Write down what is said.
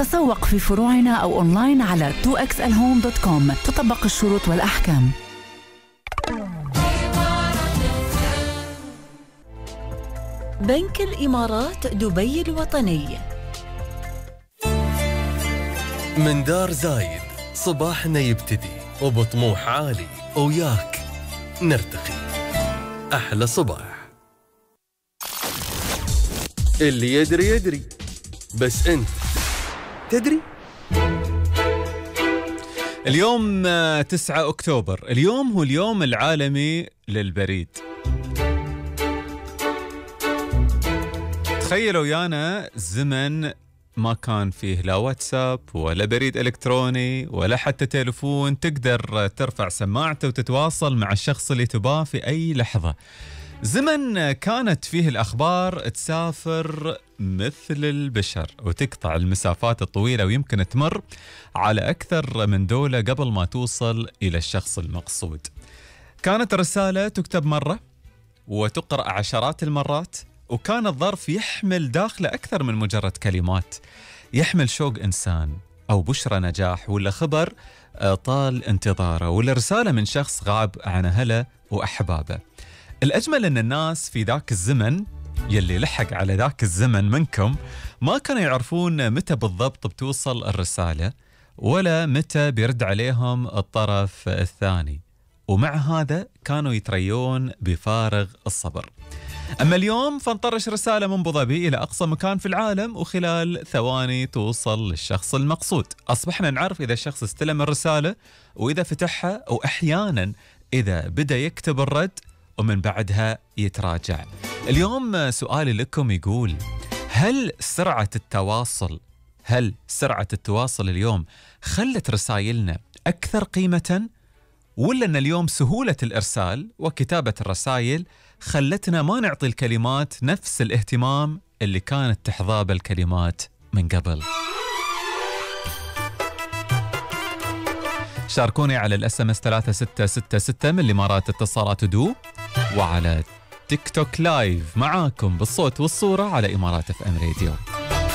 تسوق في فروعنا أو أونلاين على 2xlhome.com. تطبق الشروط والأحكام. بنك الإمارات دبي الوطني. من دار زايد صباحنا يبتدي وبطموح عالي، وياك نرتقي أحلى صباح. اللي يدري يدري، بس أنت تدري؟ اليوم 9 أكتوبر، اليوم هو اليوم العالمي للبريد. تخيلوا ويانا زمن ما كان فيه لا واتساب ولا بريد إلكتروني ولا حتى تلفون تقدر ترفع سماعته وتتواصل مع الشخص اللي تباه في أي لحظة. زمن كانت فيه الأخبار تسافر مثل البشر وتقطع المسافات الطويلة، ويمكن تمر على أكثر من دولة قبل ما توصل إلى الشخص المقصود. كانت الرسالة تكتب مرة وتقرأ عشرات المرات، وكان الظرف يحمل داخله أكثر من مجرد كلمات، يحمل شوق إنسان أو بشرى نجاح ولا خبر طال انتظاره ولا رسالة من شخص غاب عن أهله وأحبابه. الأجمل أن الناس في ذاك الزمن يلي لحق على ذاك الزمن منكم ما كانوا يعرفون متى بالضبط بتوصل الرسالة ولا متى بيرد عليهم الطرف الثاني، ومع هذا كانوا يتريون بفارغ الصبر. أما اليوم فانطرش رسالة من أبو ظبي إلى أقصى مكان في العالم وخلال ثواني توصل للشخص المقصود. أصبحنا نعرف إذا الشخص استلم الرسالة وإذا فتحها، أو أحيانا إذا بدأ يكتب الرد ومن بعدها يتراجع. اليوم سؤالي لكم يقول: هل سرعة التواصل اليوم خلت رسائلنا أكثر قيمة، ولا أن اليوم سهولة الإرسال وكتابة الرسائل خلتنا ما نعطي الكلمات نفس الاهتمام اللي كانت تحظى بالكلمات من قبل؟ شاركوني على الSMS 3666 من الإمارات اتصالات دو، وعلى تيك توك لايف معاكم بالصوت والصورة على إمارات FM راديو.